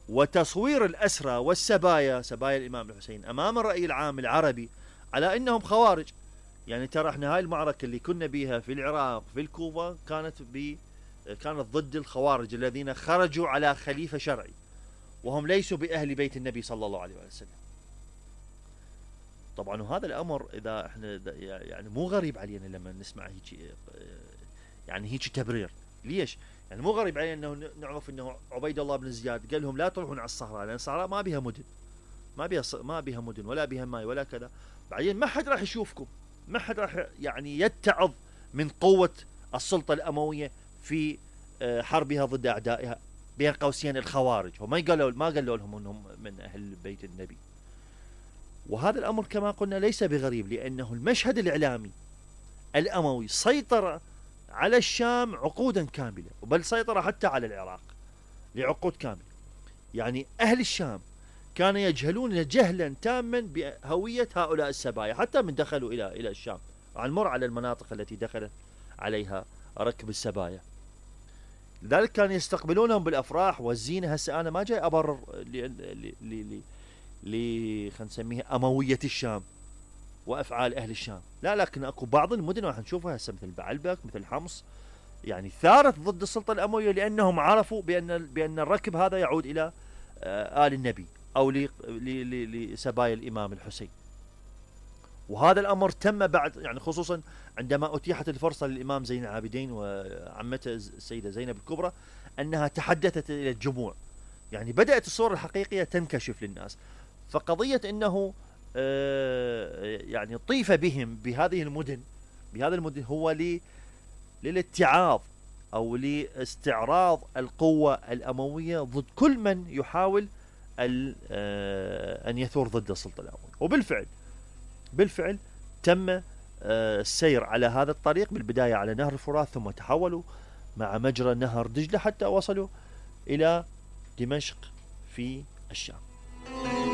وتصوير الأسرى والسبايا، سبايا الإمام الحسين، أمام الرأي العام العربي على أنهم خوارج. يعني ترى احنا هاي المعركة اللي كنا بيها في العراق في الكوفة كانت ضد الخوارج الذين خرجوا على خليفة شرعي، وهم ليسوا بأهل بيت النبي صلى الله عليه وسلم. طبعا وهذا الأمر إذا احنا يعني مو غريب علينا لما نسمع هيك، يعني هيك تبرير. ليش؟ يعني مو غريب علينا انه نعرف انه عبيد الله بن زياد قال لهم لا تروحون على الصحراء، لان الصحراء ما بها مدن، ما بها مدن ولا بها ماي ولا كذا. بعدين ما حد راح يشوفكم، ما حد راح يعني يتعظ من قوة السلطة الأموية في حربها ضد أعدائها، بين قوسين الخوارج. وما قالوا لهم انهم من اهل بيت النبي. وهذا الامر كما قلنا ليس بغريب، لانه المشهد الاعلامي الاموي سيطر على الشام عقودا كاملة، بل سيطر حتى على العراق لعقود كاملة. يعني أهل الشام كانوا يجهلون جهلا تاما بهوية هؤلاء السبايا حتى من دخلوا إلى الشام. عن مر على المناطق التي دخل عليها ركب السبايا، لذلك كانوا يستقبلونهم بالأفراح والزينة. هسه أنا ما جاي أبرر خلينا نسميها أموية الشام وأفعال أهل الشام، لا، لكن أكو بعض المدن راح نشوفها هسه مثل بعلبك مثل حمص يعني ثارت ضد السلطة الأموية، لأنهم عرفوا بأن الركب هذا يعود إلى آل النبي أو لسبايا الإمام الحسين. وهذا الأمر تم بعد، يعني خصوصا عندما أتيحت الفرصة للإمام زين العابدين وعمته السيدة زينب الكبرى أنها تحدثت إلى الجموع، يعني بدأت الصورة الحقيقية تنكشف للناس. فقضية أنه يعني طيف بهم بهذه المدن هو للاتعاظ أو لاستعراض القوة الأموية ضد كل من يحاول أن يثور ضد السلطة الأموية. وبالفعل تم السير على هذا الطريق، بالبداية على نهر الفرات، ثم تحولوا مع مجرى نهر دجلة حتى وصلوا إلى دمشق في الشام.